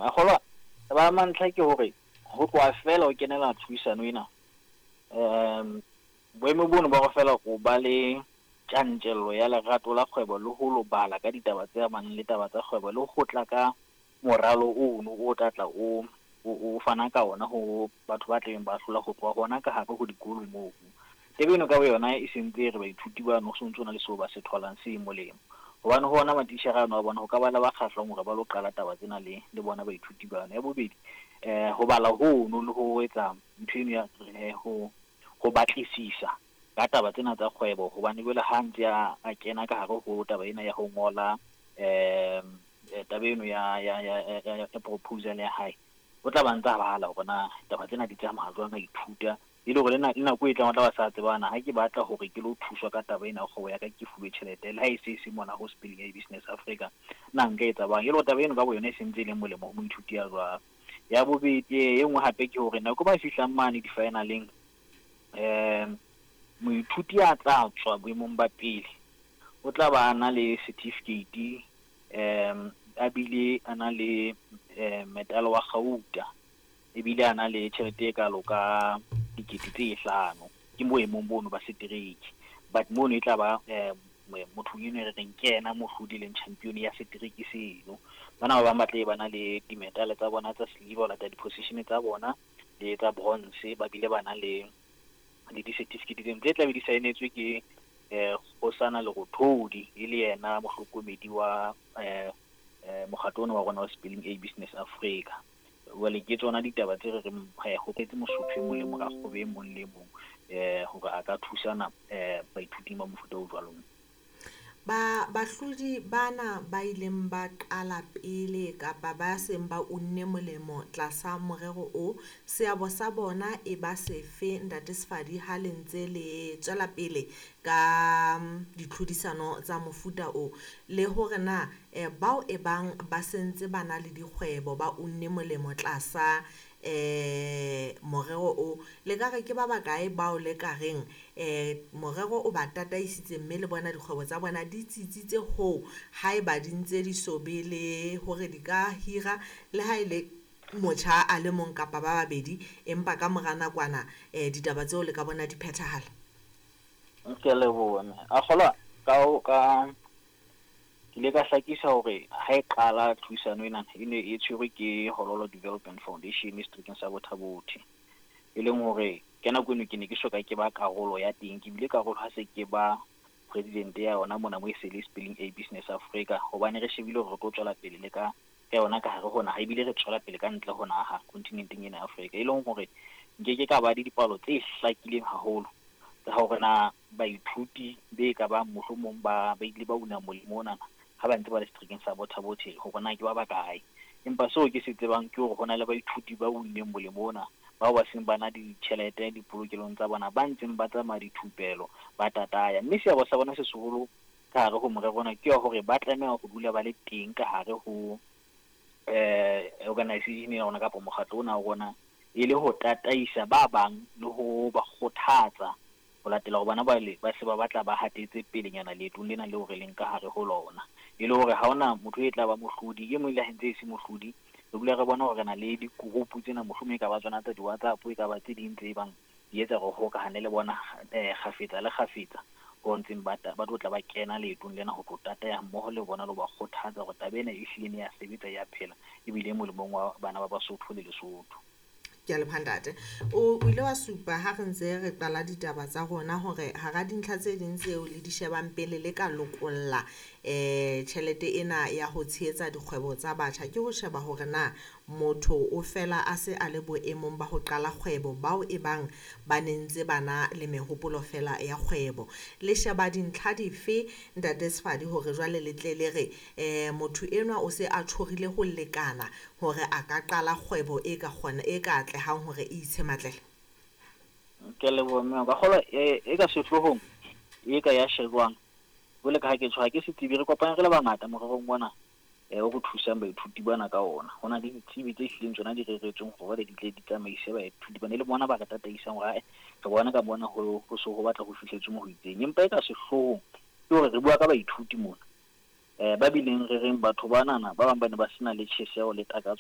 A kgolwa taba ya mantlha ke hore ho tloha feela o kenela tlhodisano ena, boemo bono ba hore feela o ba le tjantjello ya lerato la kgwebo le ho lo bala ka ditaba tse amanang le taba tsa kgwebo le ho tla ka moralo ono o tla tla o fana ka ona ho batho ba tlabeng ba hlola ho tloha hona ka hare ho dikolo moo. Taba eno ka boyona e sentse e re baithuti bano ho sontso na le seo ba se tholang se molemo. Hobane ho ona matitjhere ano a bona ho ka ba le ba kgahlwang hore ba lo qala taba tsena le bona baithuti bano. Ya bobedi, ho bala hono le ho etsa ntho eno ya ho batlisisa ka taba tsena tsa kgwebo, hobane jwale ha ntse a kena ka hare ho taba ena ya ho ngola taba eno ya proposal ya hae, o tla ba ntsa bala hore na taba tsena di tsamaya jwang, a ithuta e le hore le nako e tlang o tla ba sa tsebana ha ke batla hore ke lo thuswa ka taba ena ya kgwebo ya ka, ke fuwe tjhelete le ha e se se mona ho Spelling A Business Africa, na nka etsa bang. E le hore taba eno ka boyona e sentse e leng molemo ho moithuti ya jwalo. Ya bobedi e nngwe hape ke hore nako ba fihlang mane di-finaleng, moithuti a tla tswa boemong ba pele o tla ba na le certificate, a bile a na le medal wa kgauta, ebile a na le tjhelete e kalo ka 5 000. Ke boemong bono ba setereke, but mono e tla ba motho eno re reng ke yena mohlodi leng champion ya setereke seno. Bana ba bang ba tle ba na le di-medal tsa bona tsa silver ho latela di-position tsa bona le tsa bronze, ba bile ba na le di-certificate tse tla be di saenetswe ke Kgosana Lerothodi, e le yena mohlokomedi wa mokgatlo ona wa rona wa Spelling A Business Africa. Jwale ke tsona ditaba tse re reng ho tletse Mosotho e mong le morakgwebo e mong le mong hore a ka thusana baithuting ba mofuta o jwalo. Bahlodi bana ba ileng ba qala pele kapa ba seng ba unne molemo tlasa morero o, seabo sa bona e ba sefe Ntate Sefadi ha le ntse le tswela pele ka ditlhodisano tsa mofuta o, le hore na bao e bang ba sentse ba na le dikgwebo ba unne molemo tlasa morero o, le ka re ke ba bakae bao le ka reng morero o ba tataisitse mme le bona dikgwebo tsa bona di tsitsitse ho haeba di ntse di so be le hore di ka hira le ha e le motjha a le mong kapa ba babedi, empa ka mora nakwana ditaba tseo le ka bona di phethahala? Ke a leboha mme. A kgolwa ka ke ile ka hlakisa hore ha e qala tlhodisano ena e ne e tshwerwe ke Hololo Development Foundation seterekeng sa Botha-Bothe, e leng hore ka nako eno ke ne ke soka ke ba karolo ya teng. Ke bile karolo ha se ke ba president ya yona mona mo e se le Spelling A Business Africa, hobane re shebile hore re tlo tswela pele le ka yona ka hare ho naha, ebile re tswela pele ka ntle ho naha kontinenteng ena ya Afrika, e leng hore nkeke ka ba le dipalo tse hlakileng haholo tsa hore na baithuti be ka bang mohlomong ba ile ba una molemo ona ha ba ntse ba le seterekeng sa Botha-Bothe, hore na ke ba bakae. Empa seo ke se tsebang ke hore ho na le baithuti ba unneng molemo ona, bao ba seng ba na ditjhelete dipolokelong tsa bona, ba ntseng ba tsamaya dithupelo, ba tataya. Mme seabo sa bona se seholo ka hare ho morero ona ke hore ba tlameha ho dula ba le teng ka hare ho organization ya rona kapa mokgatlo ona wa rona, e le ho tataisa ba bang le ho ba kgothatsa ho latela hore bona ba se ba batla ba hatetse pelenyana leetong lena leo re leng ka hare ho lona. E le hore ha hona motho e tla ba mohlodi, e mong le ha ntse e se mohlodi, re dula re bona hore re na le di-group tsena, mohlomong e ka ba tsona tsa di-WhatsApp, e ka ba tse ding tse bang di etsa hore hokahane le bona kgafetsa le kgafetsa, ho ntseng ba tlo tla ba kena leetong lena ho tlo tataya mmoho le bona le ho ba kgothatsa hore taba ena e hlile ne ya sebetsa, ya phela, ebile e molemong wa bana ba Basotho le Lesotho. Ke a leboha ntate. O ile wa supa ha re ntse re qala ditaba tsa rona hore hara dintlha tse ding tseo le di shebang pele le ka lokolla tjhelete ena ya ho tshehetsa dikgwebo tsa batjha, ke ho sheba hore na motho o fela a se a le boemong ba ho qala kgwebo, bao e bang ba ne ntse ba na le mehopolo fela ya kgwebo. Le sheba dintlha dife Ntate Sefadi hore jwale le tle le re motho enwa o se a tjhorile ho lekana hore a ka qala kgwebo e ka kgona e ka atlehang hore e itshematlele? Ke a leboha mme. Ka kgolwa e ka sehloohong e ka ya shejwang jwale ka ha ke tshwara ke setsebi, re kopane re le bangata morerong ona o re thusang baithuti bana ka ona. Ho na le ditsebi tse hlileng tsona di reretsweng hore di tle di tsamaise baithuti bana, e le bona ba re tataisang hore ae re bona ka bona ho so ho batla ho fihletswe mo ho itseng. Empa e ka sehloohong ke hore re bua ka baithuti mona, ba bileng re reng batho banana ba bang ba ne ba sena le tjheseho le takatso